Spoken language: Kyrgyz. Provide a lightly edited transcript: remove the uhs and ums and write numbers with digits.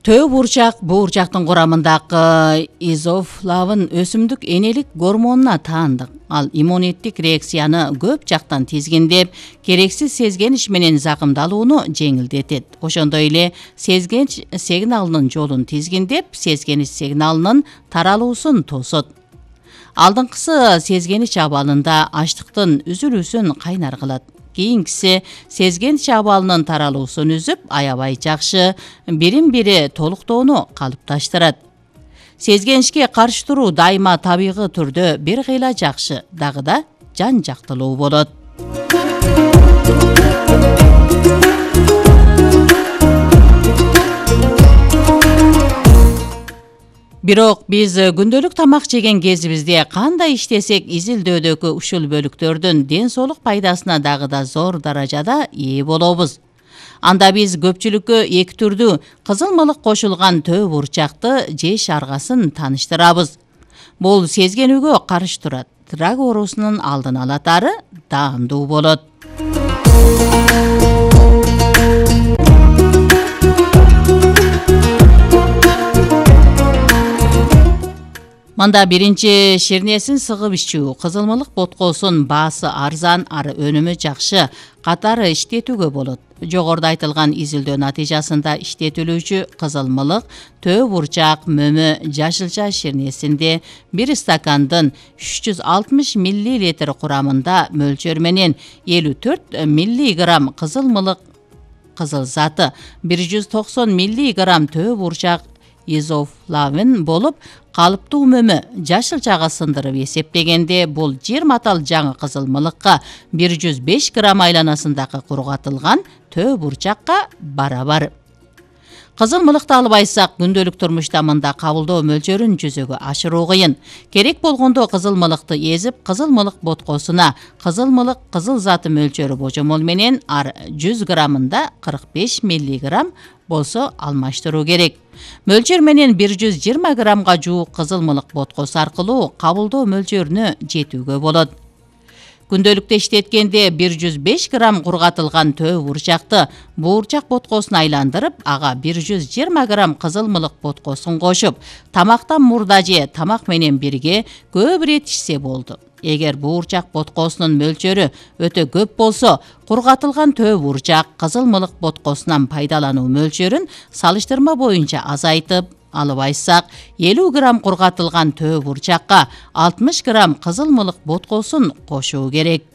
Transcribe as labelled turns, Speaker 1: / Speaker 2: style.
Speaker 1: Төө буурчак буурчактын курамындагы изофлавин өсүмдүк энелик гормонуна таандык. Ал иммунеттик реакцияны көп жактан тизгиндеп, керексиз сезгенич менен закымдалууну жеңилдетет. Ошондой эле сезгенич сигналынын жолун тизгиндеп, сезгенич сигналынын таралуусун тосот. Алдыңкысы сезгенич абалында ачтыктын үзүлүүсүн кайнар кылат. Кийинкиси сезгенич абалынын таралуусун үзүп, аябай жакшы бирин-бири толуктоону калыпташтырат. Сезгеничке каршы туруу дайыма табигый түрдө бир кыйла жакшы, дагы да жан жактылуу болот. Бирок биз күндөлүк тамак жеген кезибизде кандай иштесек изилдөөдөгү ушул бөлүктөрдүн ден соолук пайдасына дагы да зор даражада ээ болобуз. Анда биз көпчүлүккө эки түрдүү кызыл мылык кошулган төө буурчакты жеш аргасын тааныштырабыз. Бул сезгенүүгө каршы турат, рак оорусунун алдын алат, ары даамдуу болот. Мында биринчи ширнесин сыгып ичүү. Кызыл мылык боткосун баасы арзан, ары өнүмү жакшы катары иштетүүгө болот. Жогоруда айтылган изилдөө натыйжасында иштетилүүчү кызыл мылык төө буурчак мөмө жашылча ширнесинде 1 стакандын 360 мл курамында мөлчөр менен 54 мг кызыл мылык кызыл заты, 190 мг төө буурчак изофлавин болуп, калыптуу мөмө жашылчага сындырып эсептегенде бул 20 атал жаңы кызыл мылыкка 105 грамм айланасындагы кургатылган төө буурчакка барабар. Кызыл мылыкты албайсак, күндөлүк турмушта мында кабылдоо мөлчөрүн жүзөгө ашыруу кыйын. Керек болгондо кызыл мылыкты эзип, кызыл мылык боткосуна кызыл мылык кызыл заты мөлчөрү божомол менен ар 100 граммында 45 мг болсо алмаштыруу керек. Мөлчөр менен 120 граммга жуук кызыл мылык боткосу аркылуу кабылдоо мөлчөрүнө жетүүгө болот. Күндөлүктө иштеткенде 105 грамм кургатылган төө буурчакты буурчак боткосуна айландырып, ага 120 грамм кызыл мылык боткосун кошуп, тамактан мурда же тамак менен бирге көп ирет ичсе болду. Эгер буурчак боткосунун мөлчөрү өтө көп болсо, кургатылган төө буурчак кызыл мылык боткосунан пайдалануу мөлчөрүн салыштырма боюнча азайтып, албайсак 50 грамм кургатылган төө буурчакка 60 грамм кызыл мылык боткосун кошуу керек.